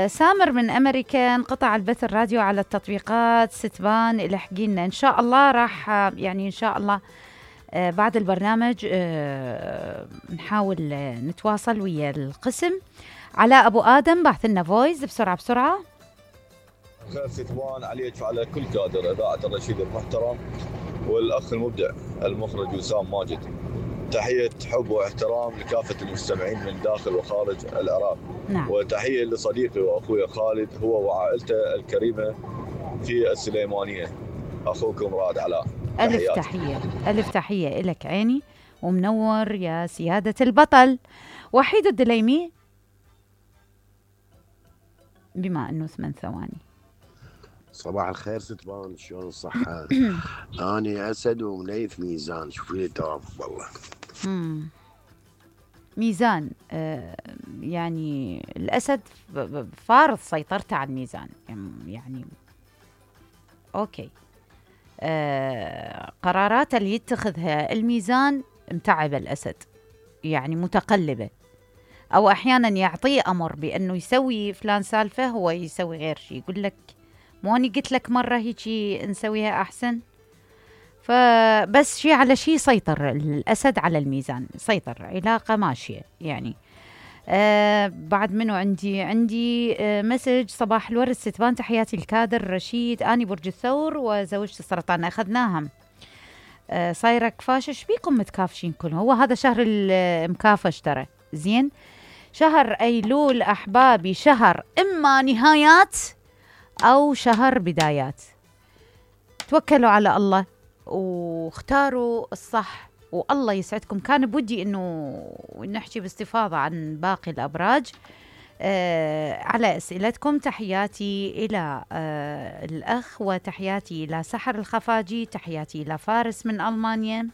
سامر من أمريكا: انقطع البث الراديو على التطبيقات ستبان، الحقينا إن شاء الله راح يعني إن شاء الله بعد البرنامج نحاول نتواصل ويا القسم. علاء أبو آدم بعث لنا فويس بسرعة. خير ستبان عليك وعلى كل كادر إذاعة الرشيد المحترم والأخ المبدع المخرج وسام ماجد. تحية حب واحترام لكافة المستمعين من داخل وخارج العراق. نعم. وتحية لصديقي وأخوي خالد هو وعائلته الكريمة في السليمانية. أخوكم رائد علاء. ألف تحية إلك عيني ومنور يا سيادة البطل. وحيد الدليمي: بما أنه 8 ثواني. صباح الخير ستبان، شلون الصحة؟ أنا أسد ومنيف ميزان، شوفي لي توافق والله. ميزان يعني الأسد فارض سيطرته على الميزان يعني أوكي. قرارات اللي يتخذها الميزان متعبة الأسد، يعني متقلبة، أو أحيانا يعطيه أمر بأنه يسوي فلان سالفة هو يسوي غير شيء، يقول لك مو أني قلت لك مرة هيجي نسويها أحسن. فبس شيء على شيء سيطر الأسد على الميزان، سيطر، علاقة ماشية يعني. بعد منه عندي مسج: صباح الورد ستبان، تحياتي الكادر رشيد، أني برج الثور وزوجتي السرطان. أخذناها صايرة كفاشة. ايش بيكم متكافشين كلهم؟ هو هذا شهر المكافش ترى، زين. شهر أيلول أحبابي شهر إما نهايات أو شهر بدايات. توكلوا على الله واختاروا الصح والله يسعدكم. كان بودي إنه نحكي باستفاضة عن باقي الأبراج على أسئلتكم. تحياتي إلى الأخ، وتحياتي إلى سحر الخفاجي، تحياتي إلى فارس من ألمانيا،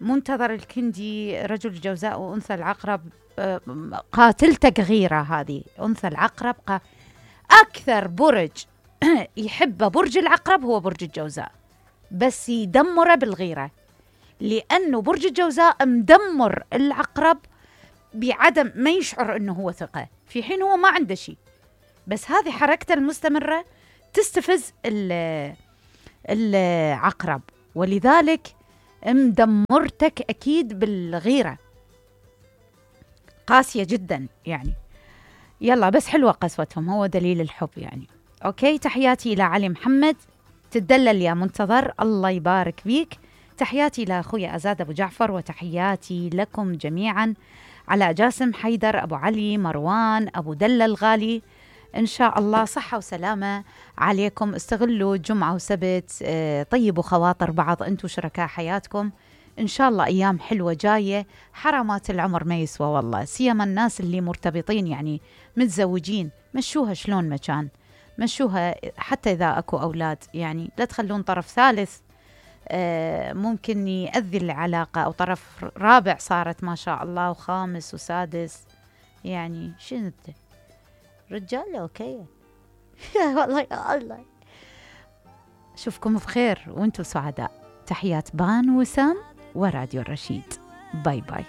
منتظر الكندي، رجل الجوزاء وأنثى العقرب. قاتلتك غيرة هذه أنثى العقرب. أكثر برج يحب برج العقرب هو برج الجوزاء، بس يدمره بالغيرة، لأنه برج الجوزاء مدمر العقرب بعدم ما يشعر أنه هو ثقة، في حين هو ما عنده شيء، بس هذه حركته المستمرة تستفز العقرب، ولذلك مدمرتك أكيد بالغيرة، قاسية جدا يعني. يلا بس حلوة قسوتهم، هو دليل الحب يعني. أوكي، تحياتي إلى علي محمد، تدلل يا منتظر، الله يبارك فيك. تحياتي إلى أخوي أزاد أبو جعفر، وتحياتي لكم جميعا. على جاسم حيدر، أبو علي، مروان، أبو دلة الغالي، إن شاء الله صحة وسلامة عليكم. استغلوا جمعة وسبت، طيبوا خواطر بعض، أنتوا شركاء حياتكم، إن شاء الله أيام حلوة جاية. حرامات العمر ما يسوى والله، سيما الناس اللي مرتبطين يعني متزوجين، مشوها شلون ما كان، مشوها حتى إذا أكو أولاد يعني، لا تخلون طرف ثالث ممكن يأذي العلاقة، أو طرف رابع صارت ما شاء الله، وخامس وسادس، يعني شنو رجال أوكي والله يا الله. أشوفكم بخير وأنتم سعداء. تحيات بان وسام وراديو الرشيد. باي باي.